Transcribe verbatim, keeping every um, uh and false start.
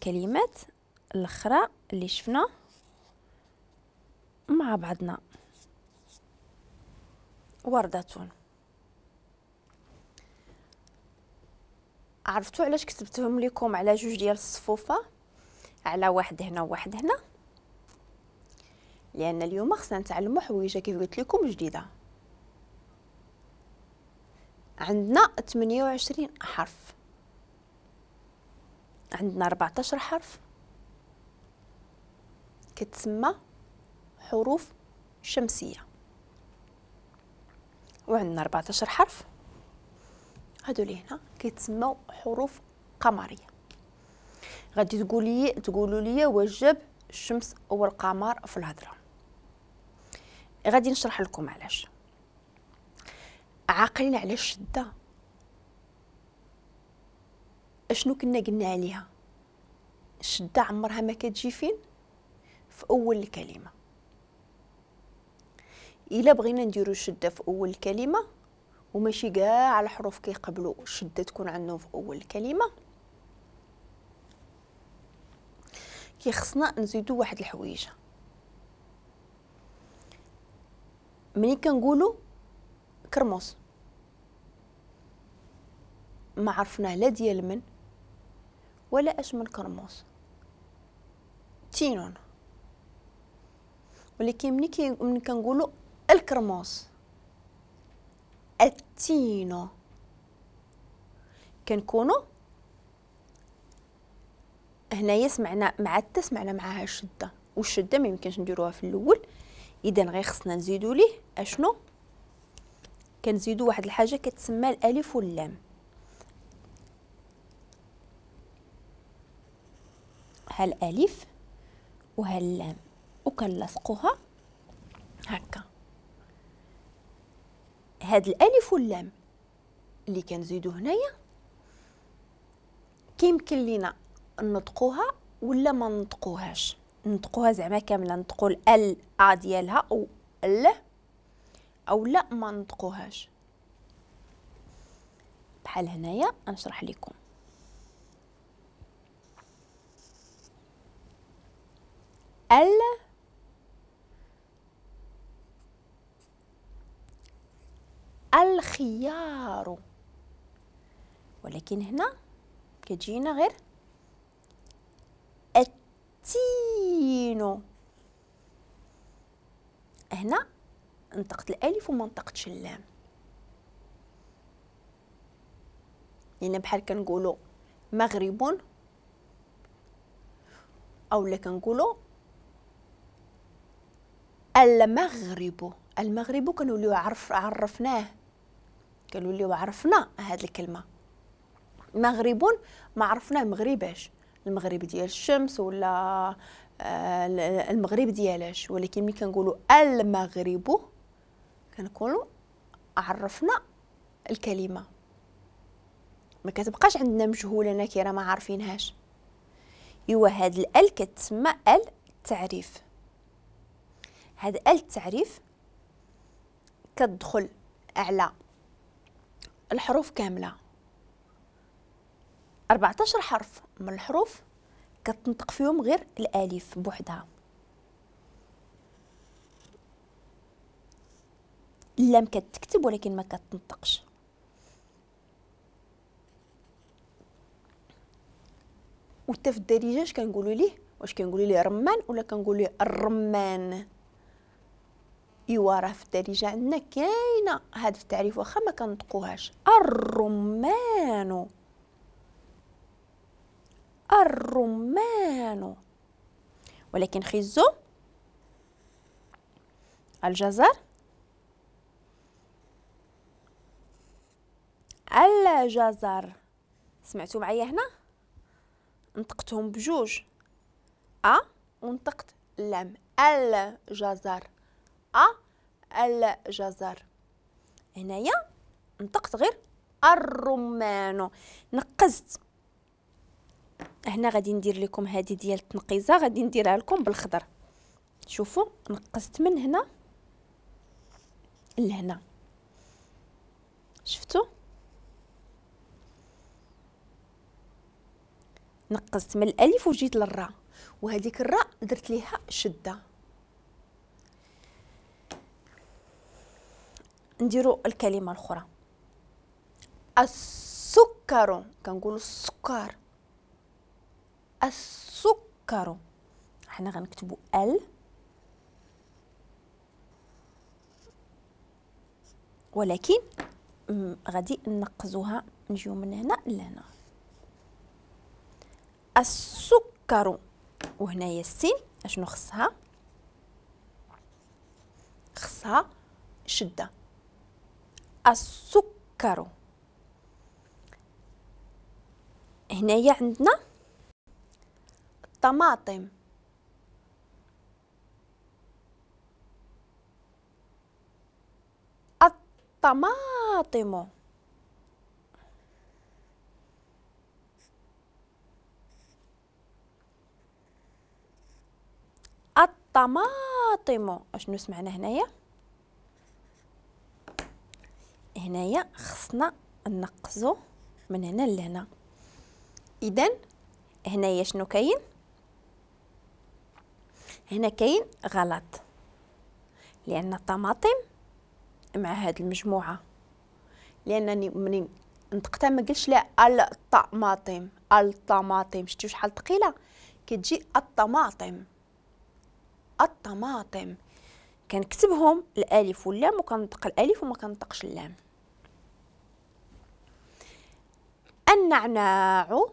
الكلمات الاخرى اللي شفنا مع بعضنا. وردة. عرفتوا علاش كتبتهم لكم على جوج ديال الصفوفه، على واحد هنا وواحد هنا؟ لان اليوم خصنا نتعلموا حويجه كيف قلت لكم جديدة. عندنا ثمانية وعشرين حرف، عندنا أربعة عشر حرف كتسمى حروف شمسية، وعندنا أربعة عشر حرف هادو اللي هنا كيتسموا حروف قمريه. غادي تقولي تقولوا لي وجب الشمس والقمر في الهضرة. غادي نشرح لكم علاش. عاقلين على الشدة اشنو كنا قلنا عليها؟ الشدة عمرها ما كتجي فين؟ في اول الكلمة. الا بغينا نديرو الشدة في اول الكلمة، وماشي كاع الحروف كيقبلوا الشدة تكون عندهم في اول الكلمة، كيخصنا نزيدو واحد الحويجه. ملي كنقولوا كرموس ما عرفناه لا ديال من ولا اش من كرموس، تينون. ولكن ملي ملي كنقولوا الكرموس التينو، كنكونوا هنايا سمعنا مع التا سمعنا معاها الشدة، والشدة ما يمكنش نديروها في الاول. اذا غير خصنا نزيدو ليه اشنو؟ كنزيدو واحد الحاجة كتسمى الالف واللام. ها الالف وها اللام، وكنلصقوها هكا. هاد الالف واللام اللي كنزيدو هنايا كيمكن لينا نطقوها ولا ما نطقوهاش. نطقوها زعما كاملة، نطقوا ال ا ديالها او ال، او لا ما نطقوهاش. بحال هنايا نشرح لكم. ال الخيار، ولكن هنا كتجينا غير التين. هنا نطقت الالف وما نطقتش اللام، لان بحال كنقولوا مغرب او لا كنقولوا المغرب. المغرب كنوليو عرف عرفناه، كنوليو عرفنا هاد الكلمة. مغرب ما عرفناه مغرباش، المغرب ديال الشمس ولا المغرب ديالاش، ولكن ملي كنقولوا المغرب كنكونوا عرفنا الكلمة، ما كتبقاش عندنا مجهولة نكره ما عارفينهاش. ايوا هاد ال كتسمى ال التعريف. هاد ال التعريف كتدخل على الحروف كاملة، أربعة عشر حرف من الحروف كتنطق فيهم غير الالف بوحدها. اللام كتكتب ولكن ما كتنطقش. وحتى في الدارجة اش كنقولوا ليه؟ واش كنقولوا ليه رمان ولا كنقولوا ليه الرمان؟ ايوا راه في الدارجة عندنا كاينه هذا التعريف واخا ما كنطقوهاش، الرمان الرمان. ولكن خيزو الجزر الجزر، سمعتوا معايا هنا نطقتهم بجوج ا ونطقت لام، الجزر ا الجزر. هنايا نطقت غير الرمان، نقزت. هنا غادي ندير لكم هذه ديال التنقيزه، غادي نديرها لكم بالخضر. شوفوا نقزت من هنا لهنا، شفتوا؟ نقصت من الالف وجيت للراء، وهذيك الراء درت ليها شده. نديرو الكلمة الاخرى السكر، كنقولوا السكر، السكر. حنا غنكتبوا ال، ولكن غادي نقزوها، نجيو من هنا لهنا. السكر، وهنايا السين اشنو خصها؟ خصها شده. السكر. هنايا عندنا الطماطم، الطماطم. الطماطم. اشنو سمعنا هنايا؟ هنايا خصنا نقزو من هنا لهنا. اذا هنايا شنو كاين؟ هنا كاين غلط، لان الطماطم مع هاد المجموعة، لانني منين نطقتها ما قلتش لا الطماطم، الطماطم. شتي شحال ثقيلة كتجي الطماطم، الطماطم. كنكتبهم الالف واللام وكنطق الالف وما كنطقش اللام. النعناع،